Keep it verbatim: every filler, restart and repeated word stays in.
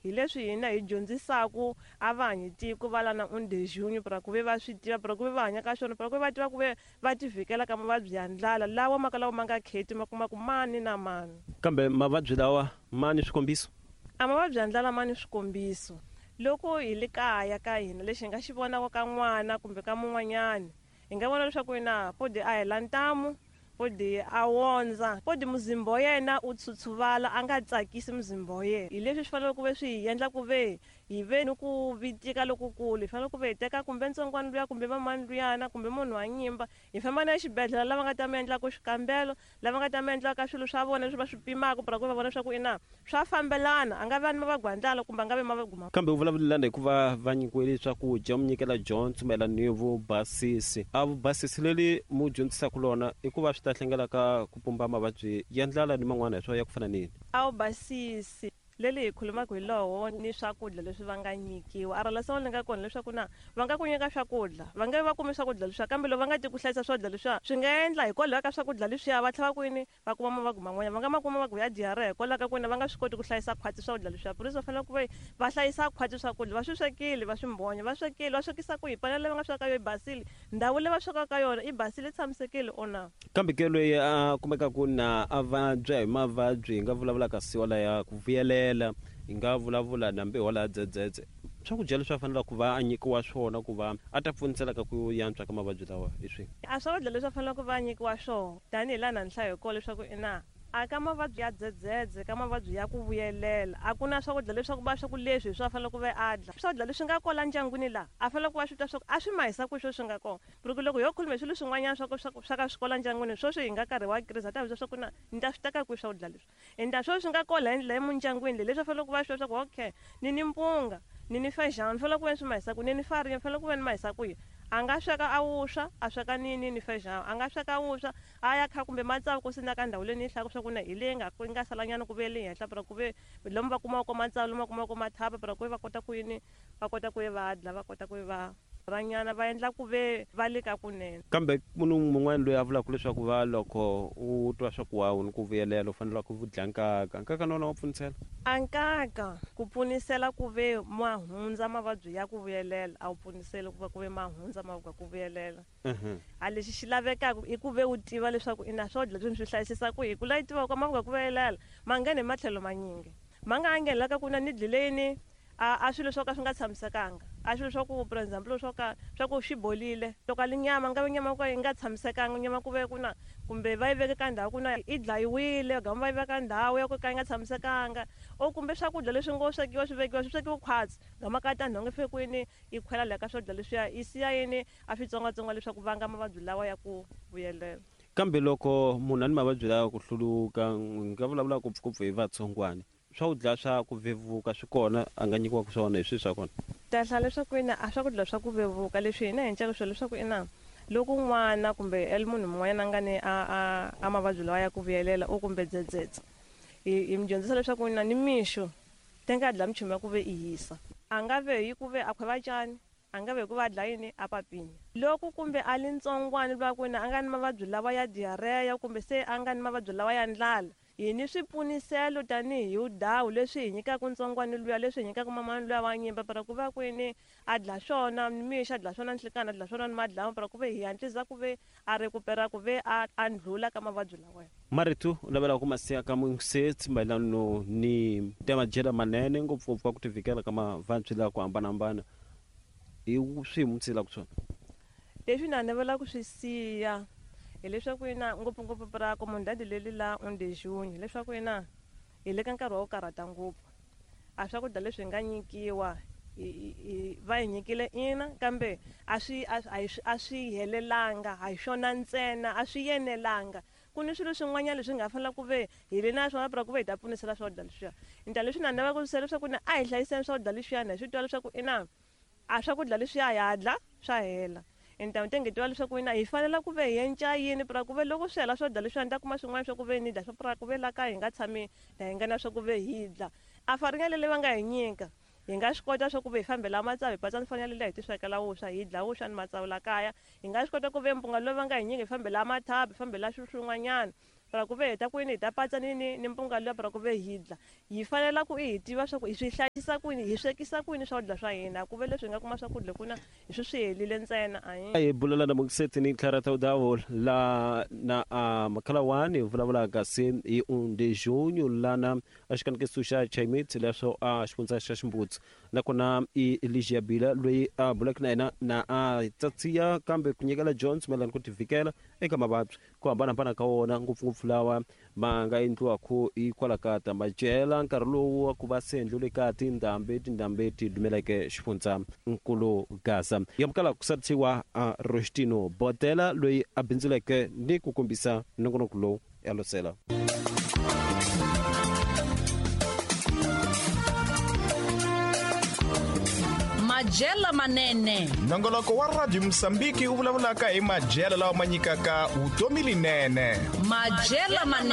Hi leswi hina hi dyondzisaku a va hanyi tiko va lana undejunyu pra ku ve va swi tiva, pra ku ve va hanya ka swona, pra ku ve va tiva ku ve va ti vhikela ka mavabyi ya ndlala lawa ma ka lawa ma nga kheti ma kuma ku mani na mani. Kambe mavabyi lawa ma ni swikombiso? A mavabyi ya ndlala ma ni swikombiso. Loko hi le kaya ka hina lexi hi nga xi vonaka ka n'wana kumbe ka mun'wanyani, hi nga vona leswaku ina podi a hela ntamu, podi a wondza, podi muzimba wa yena u tshutshuvala, a nga tsakisi muzimba wa yena. Hi leswi swi faneleke ku ve swi hi endla ku ve hi ve ni ku vitika lokukulu. Hi fanele ku ve hi teka kumbe ntsongwana luya kumbe mamani luyana kumbe munhu wa nyimba, hi famba na exibedhlele lava nga ta mi endlaka xikambelo, lava nga ta mi endlaka swilo swa vona leswi va swi pimaka pra ku va vona leswaku ina swa fambelana, a nga va ni mavabyi ya ndlala kumbe a nga vi mavabyi ma. Kambe u vulavulelana hikuva va nyikiwile swakudya, mu nyikela dyondzo mayelana ni vubasisi. A vubasisi leri mu dyondzisaka lona i ku va swi ta hlengela ka ku pumba mavabyi ya ndlala ni man'wana hi swo ya ku fana ni yini? A vubasisi leli hi khulumaka hi lowo ni swakudya leswi va nga nyikiwa. A rhala li nga kona leswaku na va nga ku nyika swakudya, va nge va kumi swakudya leswiya, kambe loko va nga ti ku hlayisa swakudya leswiya swi nga endla hikwalaho ka swakudya leswiya va tlhela kwini va kuma mavabyi man'wanyana, va nga ma kuma mavabyi ya diarrhea hikwalaho ka ku va nga swi koti ku hlayisa khwatsi swakudya leswiya. Purisi va fanele ku va va hlayisa khwatsi swakudya, va swi swekile va swi mbonya, va swekile va swekisa ku hi panela leyi va nga sweka yo yi basile, ndhawu leyi va swekaka ka yona yi basile yi tshamisekile or na. Kambe ke loyi a kumekaka na a vabya hi mavabyi hi nga vulavulaka siwa laya ku vuyelela, hi nga vulavula na mbewu laha dzedzedze, swakudya leswi a fanelaka ku va a nyikiwa swona ku va a ta pfunisela ka ku yantswa ka mavabyi lawa hi swihi? A swakudya leswi a fanelaka ku va a nyikiwa swona tanihi laha na ni hlaya hi kona leswaku ina a ka mavabyi ya dzedzedze, ka mavabyi ya ku vuyelela, a ku na swakudya leswaku va swa ku leswi hi swi a faneleke ku va a dla. Swakudya leswi nga kona ndyangwini laha a faneleke ku va swi twa swa ku a swi mahisa ku sweswi swi nga kona. Ku loko ho khuluma hi swilo swin'wanyana swa ku swa ku swa ka swi kola ndyangwini, sweswi hi nga karhi wa crise a ta byela swa ku na ni ta swi teka kwihi swakudya leswi. Ende sweswi swi nga kola hi ndlela emindyangwini leyi leswi a faneleke ku va swi twa swa ku okay ni ni mpunga, ni ni feijão, ni fanele ku va ni swi mahisa ku ni ni farinha, ni fanele ku va ni mahisa kwihi. A nga sweka a vuswa, a sweka ni ni ni feijão, a nga sweka vuswa a ya kha kumbe matsavu ku sina ka ndhawu leyi ni yi hlayaka swa ku na hi leyi nga yi nga salanyana ku ve le henhla pra ku ve lomu va kumaka matsavu, lomu va kumaka mathapa pra ku ve va kota ku yini, va kota ku va dla, va kota ku va ranyana va endla ku ve va le ka kunene. Kambe munhu mun'wana loyi a vulaka leswaku va loko u twa swa ku wa u ni ku vuyelela u fanele ku dya nkaka, nkaka na wona wa pfunisela? A nkaka ku pfunisela ku ve ma hundza mavabyi ya ku vuyelela, a wu pfuniseli ku va ku ve ma hundza mavabyi ya ku vuyelela. A lexi xi lavekaka i ku ve u tiva leswaku ina swakudya leswi swi hlayisisa ku hi ku la yi tivaka mavabyi ya ku vuyelela ma nghena hi matlhelo manyingi, ma nga nghenela ka ku na ni dlile yini a a swilo swo ka swi nga tshamisekanga, a swilo swa ku for example swo ka swa ku swi bolile, loko a li nyama nga ve nyama ku yi nga tshamisekanga, nyama ku ve ku na kumbe va yi veke ka ndhawu ku na yi dlayiwile, gama va yi veka ndhawu ya ku ka yi nga tshamisekanga, o kumbe swakudya leswi ngo swekiwa swi vekiwa swi swekiwa khwatsi, gama ka ta nhonga fike kwini yi khwela laha ka swakudya leswiya yi siya yini a switsongwatsongwana leswaku vanga mavabyi lawa ya ku vuyelela. Kambe loko munhu a ni mavabyi lawa ku hluluka, hi nga vulavula ngopfungopfu hi vatsongwana, swakudya swa ku vevuka swi kona a nga nyikiwaka swona hi swihi swa kona? Ta hlaya leswaku ina a swakudya swa ku vevuka leswi hina hi encaka swona leswaku ina loko n'wana kumbe el munhu mun'wanyana a nga ni a, a, a mavabyi lawa ya ku vuyelela o kumbe dzedzedze, hi, hi mi dyondzisa leswaku ina ni mixo te nga dla minchumu ya ku ve i hisa, a nga ve hi ku ve a khweva cani, a nga ve hi ku va a dla yini a papini. Loko kumbe a li ntsongwana lwa ku ina a nga ni mavabyi lawa ya diarrhea kumbe se a nga ni mavabyi lawa ya ndlala, hi ni swipfuniselo tanihi wudawu leswi hi nyikaka ntsongwana luya, leswi hi nyikaka mamani luya wa nyimba para ku va kwini a dla swona nimixo, a dla swona nhlikani, a dla swona ni madlamu para ku ve hi hatlisa ku ve a recupera ku ve a, a ndlhula ka mavabyi lawa. Marito u navela ku ma siya ka mungisetsi mayelana ni ta madyelo manene ngopfungopfu ka ku tivikela ka mavabyi lawa ku hambanahambana, hi swihi mu tshilaka swona? Leswi na navela ku swi siya hileswaku ina ngopfungopfu pra comunidade leli la undejunyu, hileswaku ina hi le ka nkarhi wa ku karhata ngopfu. A swakudya leswi hi nga nyikiwa hi, hi, va hi nyikile ina, kambe a swi, a, a hi, a swi helelanga, a hi swona ntsena, a swi yenelanga. Ku ni swilo swin'wanyana leswi nga fanela ku ve hi le na swona pra ku ve hi ta pfunisela swakudya leswiya. Ndlela leswi na navela ku swi siya leswaku ina a hi hlayiseni swakudya leswiyani, hi swi tiva leswaku ina a swakudya leswiya ha dla swa hela. Ende ni tenge tiva leswaku ina hi fanele ku ve hi enca yini pra ku ve loko swi hela swakudya leswiya ni ta kuma swin'wana swa ku ve ni dya swa pra ku ve la kaya hi nga tshami la hi nga na swa ku ve hi dla. A faringa leyi va nga hi nyika hi nga swi kota swa ku ve hi fambela matsavu, hi patsa ni faringa leyi hi ti swekela vuswa, hi dla vuswa ni matsavu la kaya. Hi nga swi kota ku ve mpunga lowu va nga hi nyika hi fambela mathabu, hi fambela swilo swin'wanyana. Para ku ve hi ta kwini hi ta patsa ni ni ni mpunga luya para ku ve hi dla. Hi fanela ku i hi tiva swa ku hi swi hlayisa kwini, hi swekisa kwini swakudya swa hina. Ku ve leswi hi nga kuma swakudya kuna hi swi swi helile ntsena a hi bulela na Mukiseti ni Clara Taudawo la na a Makhalawani hi vulavulaka se hi um de junho lana a xikanekiso xa Chaimit leswo a xifundza xa Ximbutsi nakona i Ligia Bila loyi a bulaka na yena na a tsatsiya kambe ku nyikela Jones mayelana ku tivikela eka mavabyi ku hambanahambana ka wona ngopfungopfu lawa ma nga endliwaka hikwalaho ka ta madyela nkarhi lowu wa ku va se endliwile ka tindhambi tindhambi ti dumeleke xifundza nkulu Gaza yamukela ku sarisiwa a Rostino Botela loyi a bindzuleke ni ku kombisa nongonoko lowu ya losela. Madyelo manene. Nongoloko wa Radio Mozambique wu vulavulaka hi madyelo lawa ma nyikaka vutomi linene. Madyelo manene.